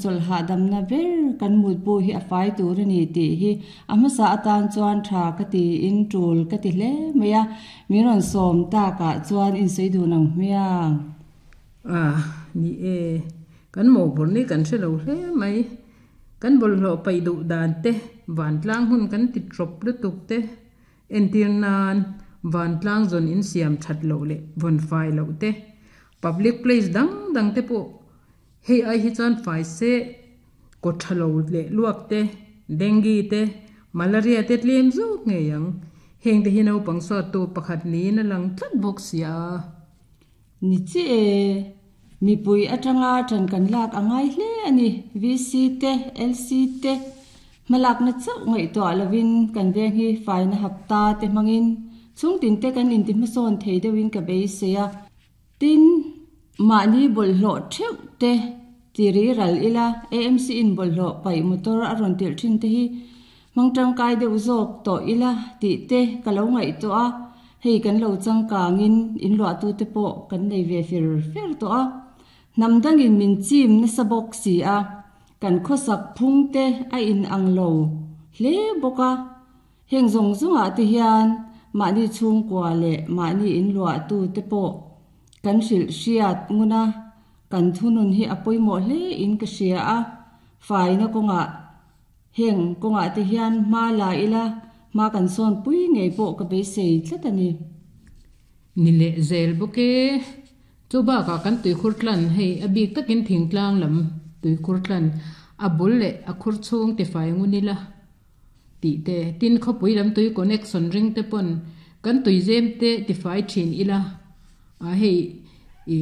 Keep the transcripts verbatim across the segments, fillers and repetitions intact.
chawlh hahdamna ber kan mutbu hi a fai tur a ni tih hi a hmasa atan chuan tha ka tiin tul ka ti hle mai a, min rawn sawm takah chuan in sawi dun ang hmiang. A ni e, kan mawhphurh ni kan hre lo hle mai. Kan bawlhhlawh paih duh dan te, vantlang hun kan ti tawp lutuk te, entir nan vantlang zawn in siam that loh leh vawn fai loh te, public place dang dang te pawh hei ai hi chuan fai se kaw tha lo leh luak te, dengue te, malaria te tlem zawk ngei ang. Heng te hi naupang suat tu pakhat niin a lang tlat bawk sia. Ni chi e, mipui atanga tan kan lak a ngai hle a ni. V C te, L C te, hmalakna chauh ngaihtuah lovin kan veng hi faina hapta te hmangin chhung tin te kan inti hmasawn thei deuhin ka beisei a. Tin, mahni bawlhhlawh theuh te tiri ral ila A M C in bawlhhlawh paih motor a rawn tirh thin te hi hmang tangkai deuh zawk tawh ila tih te ka lo ngaihtuah a. Hei kan lo changkangin in luah tu te pawh kan nei ve fer fer tawh a. Hnam dangin min chim nasa bawk si a, kan khawsak phung te a in ang lo hle bawk a. Heng zawng zawngah te hian mahni chhungkua leh mahni in luah tu te pawh kan hrilh hriat nguna kan thunun hi a pawimawh hle in ka hria a. Faina kawngah heng kawngah te hian hma la ila hma kan sawn pui ngei pawh ka beisei tlat a ni. Ni leh zel bawk e. Chu bakah kan tuikhur tlan hei a bik takin thingtlang lam tuikhur tlan a bul leh a khur chhung ti fai ngun ila tih te, tin khawpui lam tui connection ring te pawn kan tui zem te ti fai thin ila. A hei i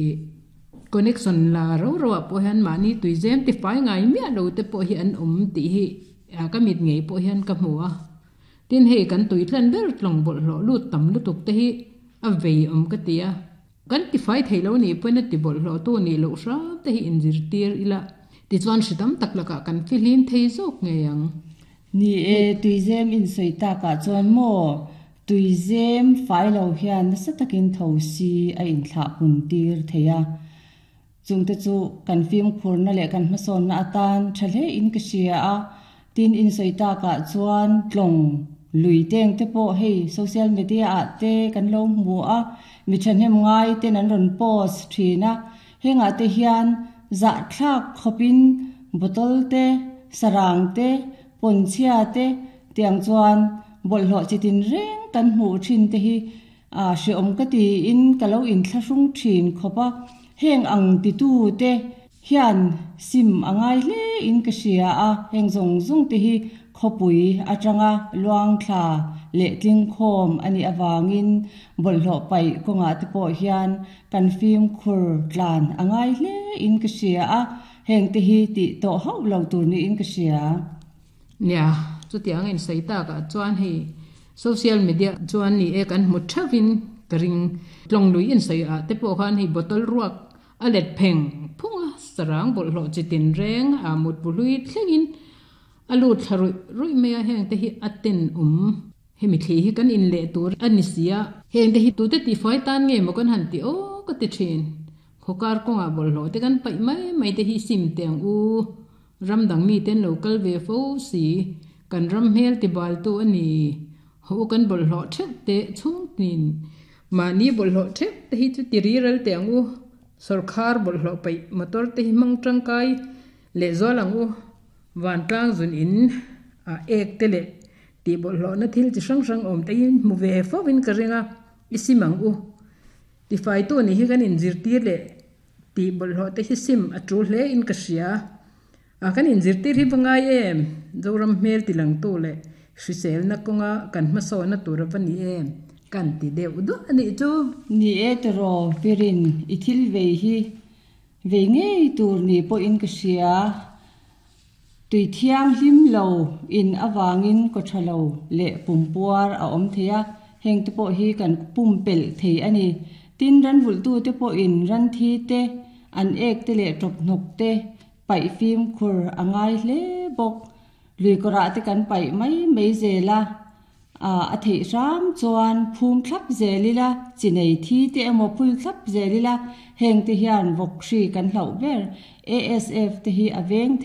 connection la ro ro ah pawh hian mahni tui zem ti fai ngai miah lo te pawh hi an awm tih hi ka mit ngei pawh hian ka hmu a. Tin hei kan tui tlan ber tlawng bawlhhlawh lut tam lutuk te hi a vei awm ka ti a. Kan ti fai thei lo nih pawhin a ti bawlhhlawh tu nih loh hram te hi inzirtir ila tichuan hri tam tak lakah kan fihlim thei zawk ngei ang. Ni e, tuizem in sawi takah chuan maw tuizem fai lo hian nasa takin tho si a inthlah pun tir thei a. Chungte chu kan fimkhurna leh kan hmasawnna atan tha hle in ka hria a. Tin in sawi takah chuan tlawng lui teng te pawh hei social media ah te kan lo hmu a, mi thahnem ngai ten an rawn post thin a. Hengah te hian zah thlak khawpin bottle te, sarang te, pawnchhia te tiang chuan bawlhhlawh chitin reng kan hmuh thin te hi a hreawm ka tiin ka lo inthlahrung thin khawp a. Heng ang titu te hian sim a ngai hle in ka hria a. Heng zawng zawng te hi khawpui atanga luang thla leh tling khawm ani awangin bawlhhlawh paih kawngah te pawh hian kan fimkhur tlan a ngai hle in ka hria a. Heng te hi tih tawh hauh lo tur niin ka hria. Nia, chutiang in sawi takah chuan hei social media chuan ni e kan hmu theuhin ka ring. Tlawng lui in sawi ah te pawh khan hei bottle ruak a let pheng phunga sarang bawlhhlawh chitin reng a mut bu hlui thlengin a lut thla ruih ruih mai a. Heng te hi a ten awm. Hemi thli hi kan in leh tur a ni sia. Heng te hi tute ti fai tan nge maw kan han ti aw ka ti thin. Khawkar kawngah bawlhhlawh te kan paih mai mai te hi sim te ang u. Ram dang mi ten lo kal ve fo si. Kan ram hmel ti bal tu a ni. Ho kan bawlhhlawh theuh te chhung tin. Mahni bawlhhlawh theuh te hi chu ti ri ral te ang u. Sorkar bawlhhlawh paih motor te hi hmang tangkai leh zual ang u. Vantlang zun in a ek te leh ti bawlhhlawh na thil chi hrang hrang awm te hi hmu ve fovin ka ring a. I sim ang u. Ti fai tu ni hi kan inzirtir leh ti bawlhhlawh te hi sim a tul hle in ka hria. A kan inzirtir hi va ngai em. Zoram hmel ti lang tu leh hriselna kawnga kan hmasawnna tur a va ni em. Kan ti deuh duah a nih chu. Ni e tiraw Pirin i thil vei hi vei ngei tur ni pawhin ka hria. Tui thiang hlim lo in awangin kaw tha lo leh pumpuar a awm thei a. Heng te pawh hi kan pum pelh thei a ni. Tin ran vulh tu te pawhin ran thi te, an ek te leh tawp hnawk te paih fimkhur a ngai hle bawk. Lui kawrah te kan paih mai mai zel a. A a theih hram chuan phum thlap zel ila, chi nei thi te emaw phul thlap zel ila. Heng te hian vawk hri kan hlauh ber. A S F te hi a veng thei.